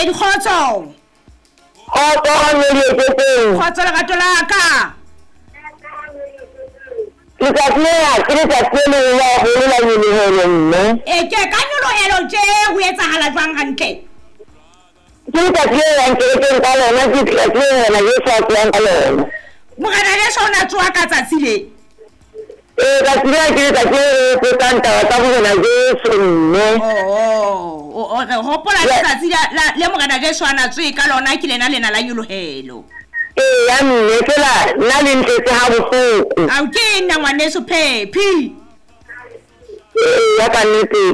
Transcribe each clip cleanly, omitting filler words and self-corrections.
Momamedi, kgotso. Kgotso mme Dieketseng. Kgotso lerato la ka. Letsatsi lena ke letsatsi le leholo haholo la nyolohelo mme. E ke ka nyolohelo tje ho etsahala jwang hantle? Ke letsatsi le yang kerekeng ka lona, ke letsatsi le Morena Jesu a tsohang ka lona. Morena Jesu o ne a tsoha ka tsatsi le. Ee, tsatsi lena ke letsatsi le re hopotsang taba tsa Morena Jesu mme. Oh, re hopola letsatsi le Morena Jesu a na tsohe ka lona, ke lena lena la nyolohelo. Eya mme, fela nna le ntletse ha bohloko. Ao ke nna ngwaneso Phephi. Eya ka nnete.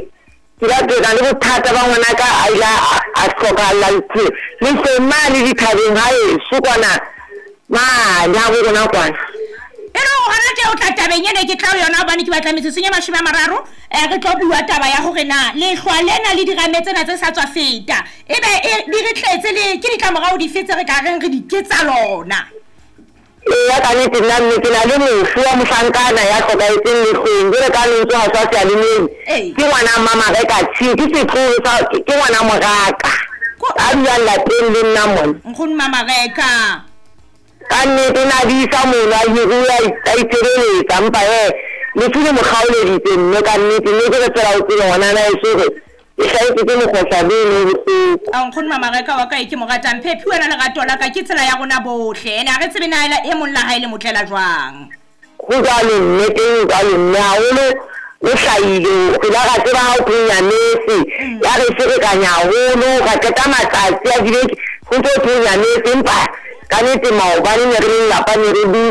Ke la ke na le bothata ba ngwanaka a ile a hlokahalla lehlweng mane dithabeng haeso kwana mane habo rona kwana. E le hore hona tje o tla tabeng ene ke tla ho yona hobane ke batla metsotsong e 30 re tlo bua taba ya hore na lehlwa lena le dirame tsena tse sa tswa feta ebe di re tletse le ke ditlamorao dife tse re ka reng re di ke tsa lona. Eya, ka nnete nna mme ke na le mofu wa mohlankana ya hlokahetseng lehlweng jwalo ka lentswe ha tswa seyalemoyeng. Ke ngwana Mmamareka Tshiu, ke setloholo sa, ke ngwana moraka a dulang lapeng le nna mona. Nkgono Mmamareka. Ka nnete o ne a disa mono a hiruwe a itshebeletsa empa hee lefu le mo kgaoleditse mme ka nnete mme ke re fela o tsebe ngwanana heso hore Ke hlahetswe ke mokgohlane ono o bohloko. Ao nkgono Mamareka wa ka e ke mo ratang. Phephi wena lerato la ka ke tsela ya rona bohle ene ha re tsebe na e mong la hae le mo tlela jwang. Ho jwalo mme, teng ho jwalo mme haholo o hlahile re la ra tseba ha o thwe nyametse ya re ferekanya haholo ra qeta matsatsi a dibeke ho ntso thwe nyametse empa ka nete maobane ne re le lelapa ne re dutse.